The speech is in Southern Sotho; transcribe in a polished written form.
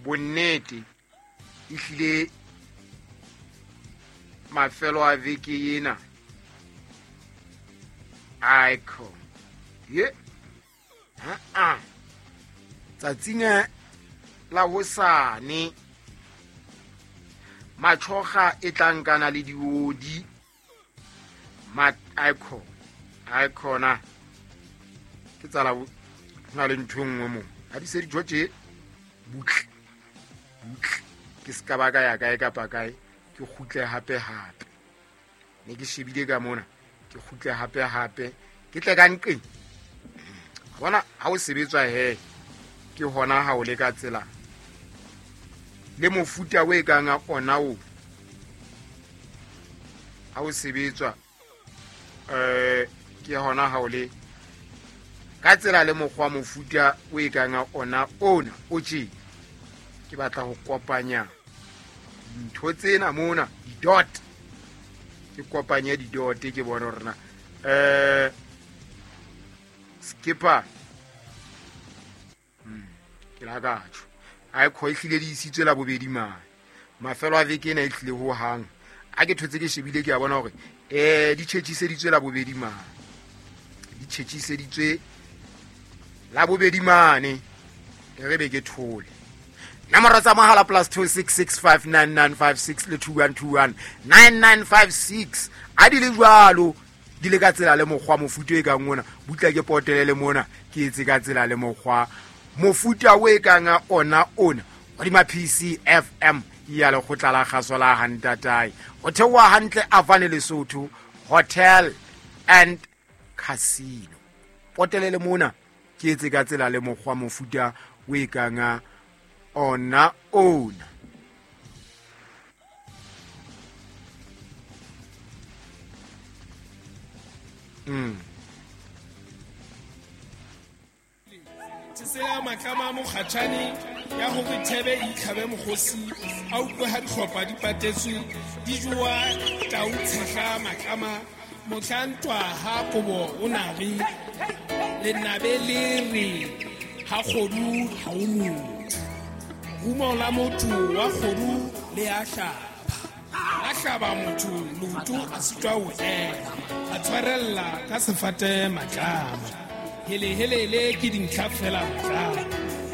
Bonnete ehlile mafelo a veke ena aiko ye aa tsatsing la hosane matshoga e tla nkana le diodi aiko aikhona ke tsala go na le ntho e nngwe mo ga di se dijo tše butle butle ke se ka ba ka ya kae kapa kae ke kgutle gape gape ne ke shebile ka mona ke kgutle gape gape ke tle ka nqeng bona ga o sebetswa he ke gona ga o le ka tsela le mofuta o e kang a ona o ga o sebetswa um ke gona ga o le ka tsela le mokgwa mofuta o e kang a ona ona o tše ke batla go kopanya dintho tsena mona di-dot ke kopanye di-dot ke bone gore na um skipper ke la katsho a e kgo e tlile di isitswe la bobedi mane mafelo a veke ena e tlile ho hang a ke thotse ke shebile ke a bona gore um di tšhetšiseditswe la bobedi mane di tšhetšiseditswe la bobedi mane e re be ke thole nomoro tsa mogala plus 26659956 le 2121 9956 a di le jalo di le ka tsela le mokgwa mofuta e kang ona butla ke potele le mona ke etse ka tsela le mokgwa mofuta o e kang ona ona godima pcfm ya lekgotla la kgaso la gantatae go theoa gantle afane lesotho hotel and casino potele le mona ke etse ka tsela le mokgwa mofuta o e kang ona ona. Tsela matlama a mokgatšhane ya gore thebe e itlhabe mokgosi a utlwe ga ditlhopha di patetswe di jowa tau tshehla matlama mohla ntwa ha kobo o na re lenabe le re ha kgodu ha o motho rumo la motho wa kgodu le a hlaba a hlaba motho leoto a sitwa ho ema a tshwarella ka sefate matlama helehelele ke dintlha fela matlama.